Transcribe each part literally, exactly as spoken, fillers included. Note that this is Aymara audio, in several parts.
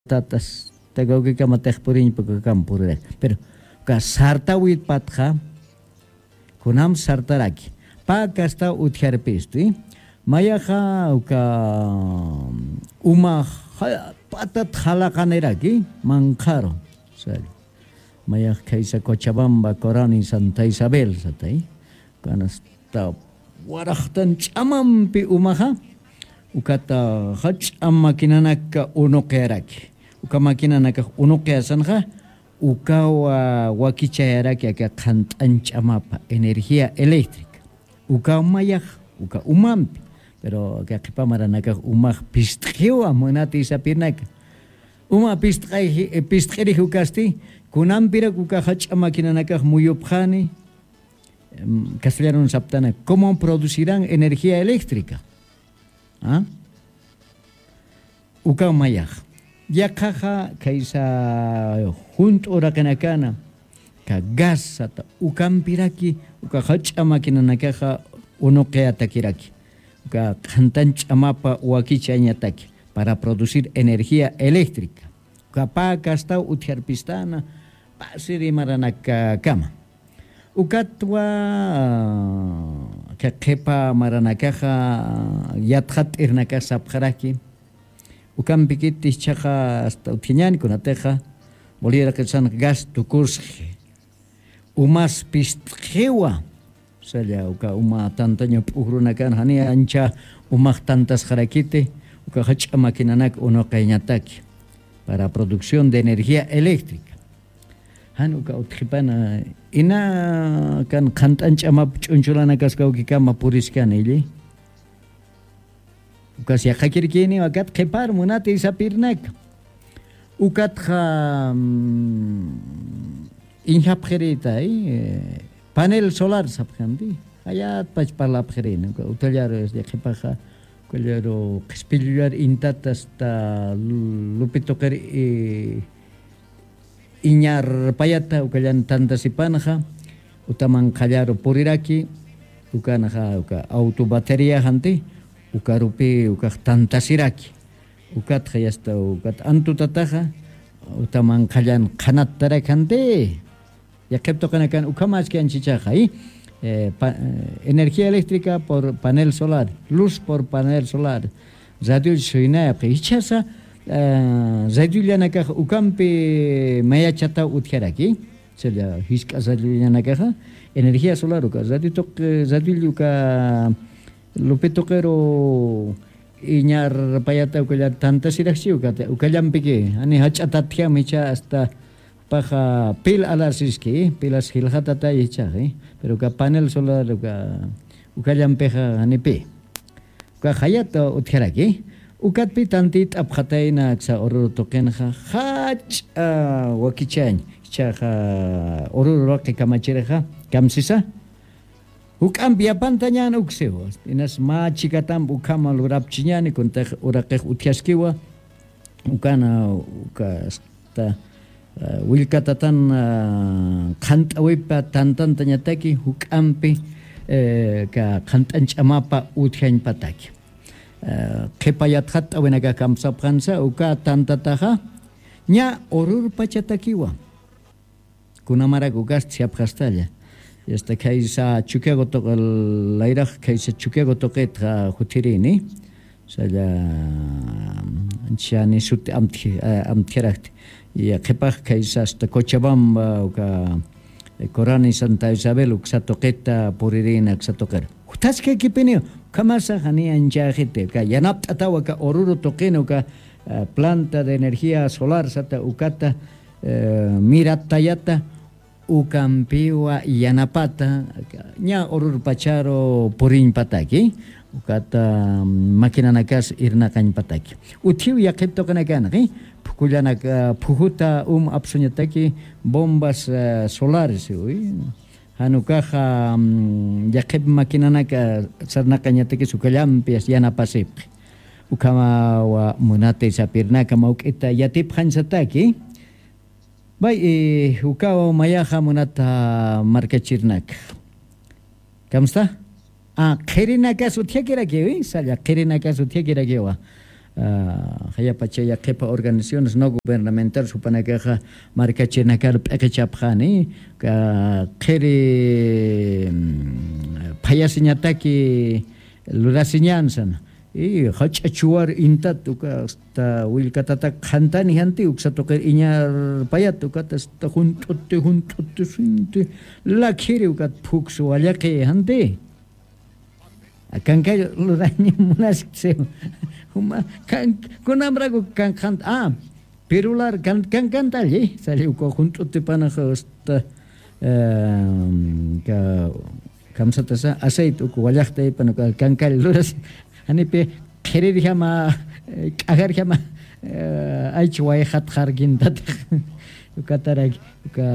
Tatas takawkikama tixpuriñpa kakam purirak. Pero ka sartawit patxa kunam sartaraki. Pä kastaw utjarpistu mayaxa uka uma patat jalaqaniraki manqharu. Sari mayax khaysa cochabamba corani santa isabel satay. Kanasta waraxtan ch'amampi umaxa ukata jach'a maquinanaka unuqiyaraki. Uka maquinanakax unuqiyasanxa ukawa wakichayaraki aka qhant'an ch'amapa energía eléctrica. Ukaw mayax uka umampi. Pero aka qhipa maranakax umax pist'iwa munati sapirnaka. Uma pist'irix ukasti kunampirak uka jach'a maquinanakax muyupxani. Castellanun saptana cómo producirán energía eléctrica? Ukaw mayax yaqhaxa khaysa junt'u uraqinakana ka gas sata ukampiraki uka jach'a maquinanakaxa unuqiyatakiraki uka qhantan ch'amapa wakichañataki para producir energía eléctrica. Uka pä kastaw utjarpistana pasiri maranakakama. Ukatwa qhipa maranakaxa yatxat'irnakax sapxaraki. Ukampikiti jichhaxa asta utjañani kunatixa boliraqirsan gas tukusxi umas pist'iwa. Salla uka uma tantaña p'ujrunakan jani ancha umax tantasxarakiti uka jach'a maquinanak unuqañataki para producción de energía eléctrica. Jan uka utjipana ina kan qhant'an ch'amap ch'unchulanakaskawkikama puriskani illi. Ukas yaqhakirkiniw akat qhipar munati sapirnaka. Ukatxa iñjapxirïtay panel solar sapxamti. Jayatpach parlapxirini uka utallaru qhipaxa ukallaru qhispillullar intata asta lupi tuqir iñar payata ukallan tantasipanxa utaman qhallaru puriraki. Ukanxa uka auto batería janti ukarupi ukax tantasiraki. Ukatxa yasta ukat antutataxa utaman qhallan qhanattarak janti. Yaqhip tuqinakan ukhamaski anchichaxa energía eléctrica por panel solar, luz por panel solar. Radioll suynayapxi ichhasa radiollanakax ukampi mayachataw utjaraki. Challa jisk'a radiollanakaxa energía solar uka radio tuqi radioll uka lupi tuqiru iñar payata ukallar tantasiraxchi ukata ukallampiki jani jach'atatjam ichha asta paxa pil alarsiski pilas jilxatatay ichhaxi. Pero uka panel solar uka ukallampixa janipi uka jayat utjaraki. Ukatpi tantit'apxatayna aksa ururu tuqinxa jach'a wakichañ ichhaxa ururu raqi kamachirixa kamsisa juk'ampi yapantañan uksiwa. Inas mä chikatamp ukhama lurapchiñani kuntix uraqix utjaskiwa. Ukana uka asta willkatatan qhant'awipa tantantañataki juk'ampi ka qhant'an ch'amapa utjañpataki. Qhipa yatxatt'awinakax kamsapxansa uka tantataxa ña ururpachatakiwa. Kunamarak ukasti sapxastalla. Yasta khaysa chukiago tuqi layrax khaysa chukiago tuqitxa juthirini. Salla chani suti amtjiraxti. Yaqhipax khaysa asta cochabamba uka corani santa isabel uksa tuqita puririna uksa tuqir juthaskakipiniw. Ukhamasa jani anchäxiti uka yanapt'ataw aka ururu tuqina uka planta de energía solar sata ukata miratayata ukampiwa yanapata ña ururpacharu puriñpataki. Ukata maquinanakas irnaqañpataki utjiw yaqhip tuqinakanxi. Phukullanaka phujuta um apsuñataki bombas solares uy. Jan ukaxa yaqhip maquinanaka sarnaqañatakis ukallampi yanapasipxi. Ukhamawa munati sapirnaka mawk'ita yatipxañsataki. Bay ukaw mayaxa munata markachirnaka. Kamsta qhirinakas utjakirakiwi salla qhirinakas utjakirakiwa. Jayapacha yaqhipa organizaciones no gubernamental supanakaxa markachirnakar p'iqichapxani, qhiri phayasiñataki lurasiñansan. Y jach'a chuwar intat uka asta willkatatak qhantani janti uksa tuqir iñarpayat ukat asta junt'uti junt'uti sinti lakhiri ukat phuks wallaqi janti. Kankay luraña munasktsiw. Juma kan kunamraku kan qhant a pirular kan kan kantalli sali uka junt'utipanax asta kamsatasa aceite uka wallaqtaypan uka kankay luras janipi qhirirjama k'ajarjama aych wayxatxarkintatix. Ukataraki uka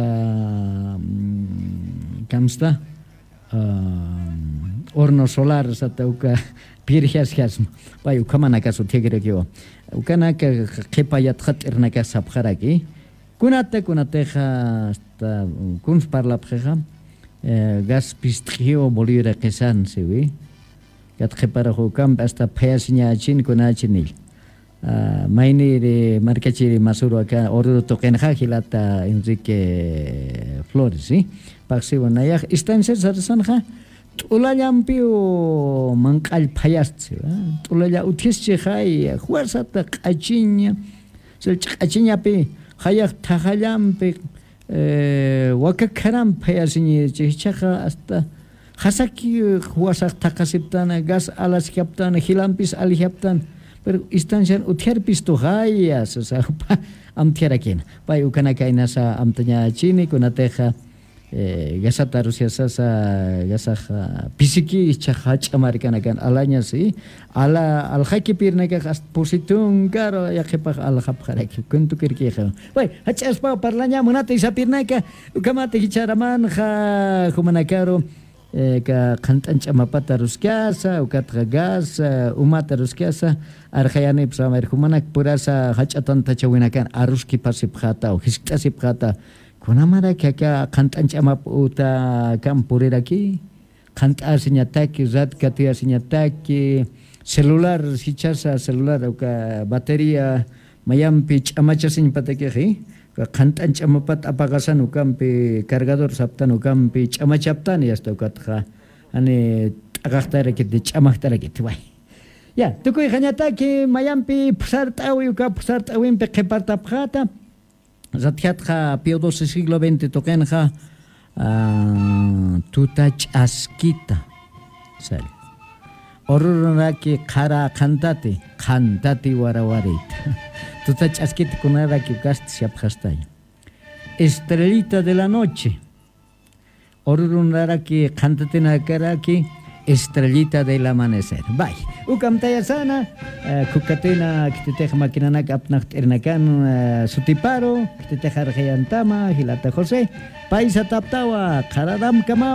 kamsta horno solar sata uka pirjasjasma. Pay ukhamanakas utjikirakiwa ukanaka qhipa yatxat'irnakas sapxaraki. Kunata kunatixa asta kuns parlapxixa gas pist'ixiwa bolivira qisan siwi. Kat qhiparax ukampi asta phayasiñachin kunachinilla. Mayniri markachiri masuru aka ururu tuqinxa jilata enrique flores si paqsiwa nayax istanciar sarasanxa t'ulallampiw manq'all phayastsi. T'ulalla utjischixay juwarsata q'achiña sallch'a q'achiñapi jayax thajallampi wakakharampi phayasiñichi jichhaxa asta jasaki juwasax thaqasiptana gas alasjaptana jilampis alijaptana. Pero istancian utjarpistuxaya sasa jupa amtjarakina pay ukanaka inasa amtañachini kunatixa gasata arusyasasa gasaxa pisiki jichhaxa jach'a markanakan alañasi ala alxakipirnakax asta pusi tunkaru yaqhipax alxapxaraki kuntukirkixa. Way jach'aspaw parlaña munata isapirnaka ukhamata jichharamanxa jumanakaru ka qhant'an ch'amapata aruskasa ukatxa gas umata aruskasa arxayanipsa amir jumanak purasa jach'a tantachawinakan aruskipasipxata o jiskt'asipxata. Kunamarak aka qhant'an ch'amap uta kam puriraki qhant'asiñataki rat katuyasiñataki celular jichhasa celular uka batería mayampi ch'amachasiñpatakixi qhant'an ch'amapat apaqasan ukampi cargador saptan ukampi ch'amachaptani asta ukatxa jani t'aqaxtarakiti ch'amaxtarakiti way. Ya tukuyxañataki mayampi phusart'awi uka phusart'awimpi qhipartapxata. Ratjatxa pio doce siglo veinte tuqinxa tuta ch'askita sal ururunaraki qhara qhantati qhantati warawarita. Tuta ch'askita kunaraki ukasti siapxastaña estrellita de la noche. Ururunaraki qhantatinakaraki estrellita del amanecer bay. Ukamtayasana khukatina khititix maquinanak apnaxt'irinakan sutiparu khititix arxayantama jilata josé. Paysataptawa qhararamkama.